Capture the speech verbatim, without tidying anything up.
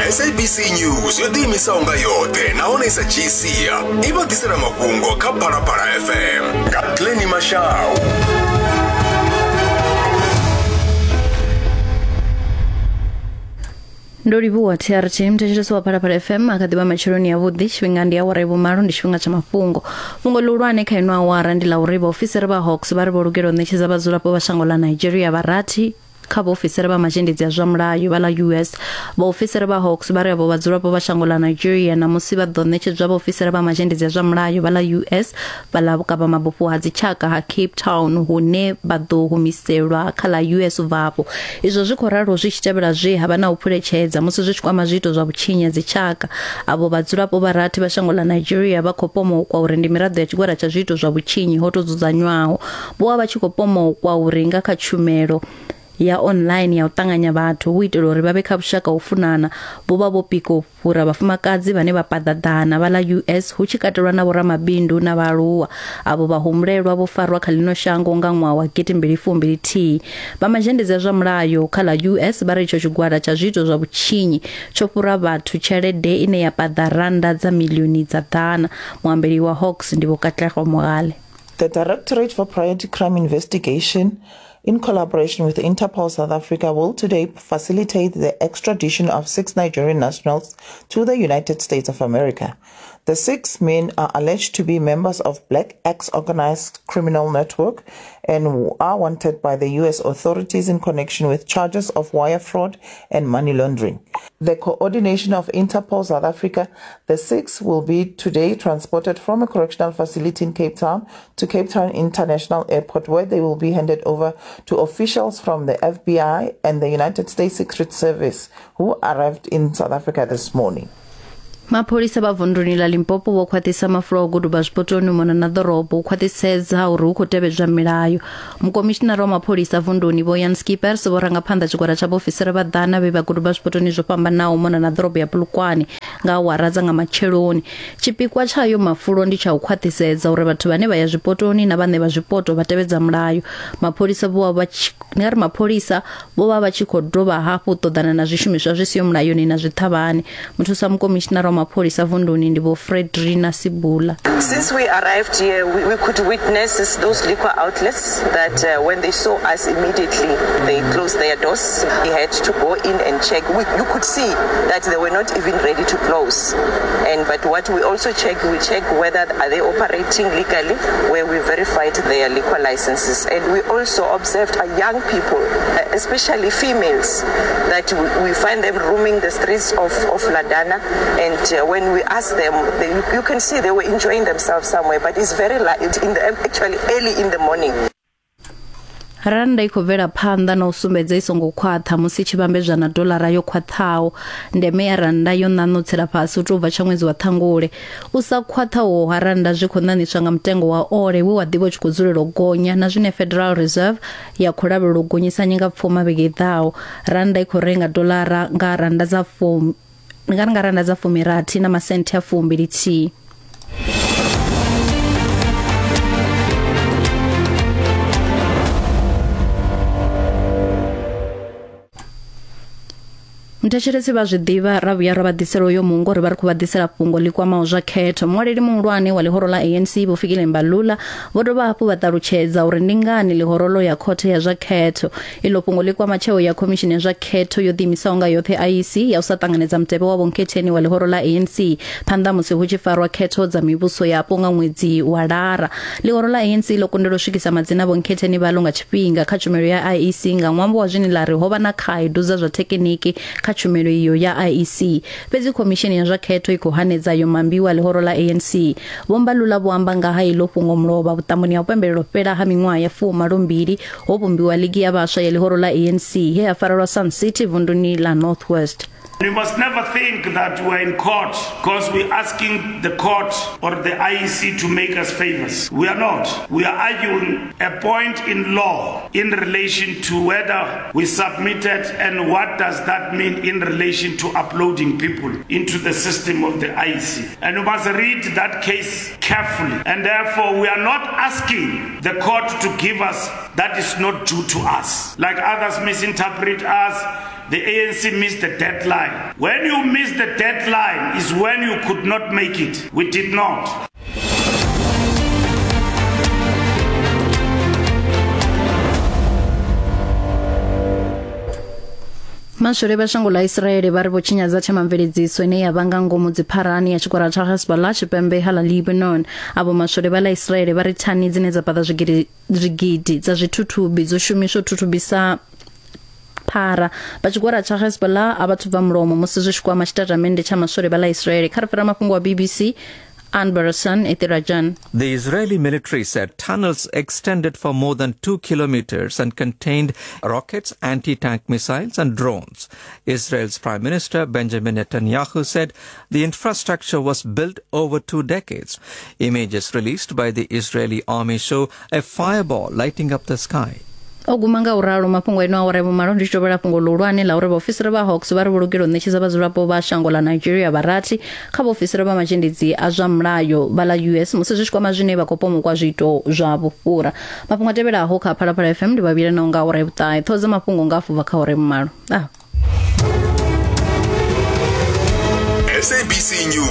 S A B C News yo ḓiimisaho nga yoṱhe nahone i sa dzhii sia i vha ḓisela mafhungo kha Phalaphala F M nga Glenny Mashau. Ndo livhuwa T R T mthetshelesi wa Phalaphala F M akha ḓivha matsheloni avhuḓi. Tshifhinga ndi awara ya vhumalo, ndi tshifhinga tsha mafhungo. Fhungo ḽihulwane kha ino awara ndi ḽa uri vhaofisiri vha Hawks vha ri vho lugela u ṋetshedza vhadzulapo vha shango ḽa Nigeria vha rathi kha vhaofisiri vha mazhendedzi a zwa mulayo vha ḽa U S. Vhaofisiri vha Hawks vha ri avho vhadzulapo vha shango ḽa Nigeria namusi vha ḓo ṋetshedzwa vhaofisiri vha mazhendedzi a zwa mulayo vha ḽa U S vha ḽa vhukavha mabufho ha dzitshaka ha Cape Town, hune vha ḓo humiselwa kha ḽa U S u bva afho. Izwo zwi khou ralo zwi tshi tevhela zwe ha vha na u phuletshedza musi zwi tshi kwama zwiito zwa vhutshinyi ha dzitshaka. Avho vhadzulapo vha rathi vha shango ḽa Nigeria vha khou pomokwa uri ndi miraḓo ya tshigwada tsha zwiito zwa vhutshinyi ho tou dzudzanywaho. Vho vha vha tshi khou pomokwa uri nga kha tshumelo ya online ya u ṱanganya vhathu hu itela uri vha vhe kha vhushaka u funana, vho vha vho pika u fhura vhafumakadzi vhane vha paḓaḓana vha ḽa U S hu tshi katelwa na vhoramabindu na vhaaluwa. Avho vhahumbulelwa vho farwa kha ḽino shango nga ṅwaha wa gidi mbili fumbili thihi. Vha mazhendedzi a zwa mulayo kha ḽa U S vha ri itsho tshigwada tsha zwiito zwa vhutshinyi tsho fhura vhathu tshelede ine ya paḓa randa dza miḽioni dza ḓana. Muambeli wa Hawks ndi Vho Katlego Mogale. The Directorate for Priority Crime Investigation, in collaboration with Interpol South Africa, will today facilitate the extradition of six Nigerian nationals to the United States of America. The six men are alleged to be members of Black Axe organized criminal network and are wanted by the U S authorities in connection with charges of wire fraud and money laundering. The coordination of Interpol South Africa, the six will be today transported from a correctional facility in Cape Town to Cape Town International Airport, where they will be handed over to officials from the F B I and the United States Secret Service, who arrived in South Africa this morning. Mapholisa vha vunduni ḽa Limpopo vho khwaṱhisa mafulo a u guduba zwipotoni mona na ḓorobo u khwaṱhisedza uri hu khou tevhedzwa milayo. Mukomishinara wa mapholisa vunduni Vho Jan Skippers vho ranga phanḓa tshigwada tsha vhaofisiri vha ḓana vhe vha guduba zwipotoni zwo fhambanaho mona na ḓorobo ya Polokwane nga awara dza nga matsheloni. Tshipikwa tshayo mafulo ndi tsha u khwaṱhisedza uri vhathu vhane vha ya zwipotoni na vhaṋe vha zwipoto vha tevhedza mulayo. Mapholisa vho vha nga ri mapholisa vho vha vha tshi khou dovha hafhu ṱoḓana na zwishumiswa zwi siho mulayoni na zwiṱhavhane. Muthusa mukomishinara wa mapholisa vunduni ndi Vho Fredrina Sibula. Since we arrived here, we, we could witness those liquor outlets that uh, when they saw us immediately, they closed their doors. We had to go in and check. We, you could see that they were not even ready to close. And but what we also check, we check whether are they operating legally, where we verified their liquor licenses. And we also observed uh, young people, uh, especially females, that we, we find them roaming the streets of, of Ladana. And uh, when we asked them, they, you can see they were enjoying themselves somewhere, but it's very light in the, actually early in the morning. Randa i khou bvela phanḓa na u sumbedza i songo khwaṱha musi tshi vhambedzwa na dolara yo khwaṱhaho. Ndeme ya randa yo ṋaṋutsela fhasi u tou bva tsha ṅwedzi wa Ṱhangule. U sa khwaṱhaho ha randa zwi khou ṋaṋiswa nga mutengo wa ole we wa ḓivha u tshi khou dzulela u gonya na zwine Federal Reserve ya khou lavhelela u gonyisa nyingapfuma vhege i ḓaho. Randa i khou renga dolara nga randa dza fumi nga nga randa dza fumirathi na masenthe a fumbili thihi. Mthetshelesi vha zwi ḓivha ra vhuya ra vha ḓisela uyo mungo ri vha ri khou vha ḓisela fhungo ḽi kwamaho zwa khetho. Muṅwaleli muhulwane wa ḽihoro ḽa A N C Vho Fikile Mbalula vho dovha hafhu vha ṱalutshedza uri ndi ngani ḽihoro ḽo ya khothe ya zwa khetho. Iḽo fhungo ḽi kwama tsheo ya khomishini ya zwa khetho yo ḓiimisaho nga yoṱhe I E C ya u sa ṱanganedza mutevhe wa vhonkhetheni wa ḽihoro ḽa A N C phanḓa musi hu tshi farwa khetho dza mivhuso yapo nga ṅwedzi wa Lara. Ḽihoro ḽa A N C ḽo kundelwa u swikisa madzina vhonkhetheni vhaḽo nga tshifhinga kha tshumelo ya I E C nga ṅwambo wa zwine ḽa ri ho vha na khaedu dza zwa thekiniki kha tshumelo iyo ya I E C. Fhedzi khomishini ya zwa khetho i khou hanedza yo mambiwa ḽihoro ḽa A N C. Vho Mbalula vho amba nga ha iḽo fhungo mulovha vhuṱamboni ha u pembelela fhela ha miṅwaha ya fumalombili ho vhumbiwa ligi ya vhaswa ya ḽihoro ḽa A N C he ha farelwa Sun City vunduni ḽa North West. We must never think that we're in court because we're asking the court or the I E C to make us favors. We are not. We are arguing a point in law in relation to whether we submitted and what does that mean in relation to uploading people into the system of the I E C. And we must read that case carefully. And therefore, we are not asking the court to give us that is not due to us. Like others misinterpret us. the A N C missed the deadline. When you miss the deadline is when you could not make it. We did not. Maswole vha shango ḽa Israeli vha ri vho tshinyadza themamveledziso ine ya vhanga ngomu dzipharani ya tshikwara tsha Hezbollah tshipembe ha ḽa Lebanon. Avho maswole vha ḽa Israeli vha ri thani dzine dza paḓa zwigidi zwigidi dza zwithuthubi dzo shumiswa thuthubisa phara. Vha tshikwara tsha Hezbollah a vhathu bva mulomo musi zwi tshi kwama tshitatamennde tsha maswole vha ḽa Israeli. Kha ri fhira mafhungo wa B B C. Anbarasan Ethirajan. The Israeli military said tunnels extended for more than two kilometers and contained rockets, anti-tank missiles and drones. Israel's Prime Minister Benjamin Netanyahu said the infrastructure was built over two decades. Images released by the Israeli army show a fireball lighting up the sky. O guma nga uralo mafhungo ino awara vhumalo ndi tshi tovhela fhungo ḽihulwane ḽa uri vhaofisiri vha Hawks vha ri vho lugela u ṋetshedza vhadzulapo vha shango ḽa Nigeria vharathi kha vhaofisiri vha mazhendedzi a zwa mulayo vha ḽa U S musi zwi tshi kwama zwine vha khou pomokwa zwiito zwa vhufhura. Mafhungo a tevhelaho kha Phalaphala F M ndi vhavhili na nga awara vhuṱahe. Ṱhoho dza mafhungo nga afho bva kha awara vhumalo. Ah. S A B C News.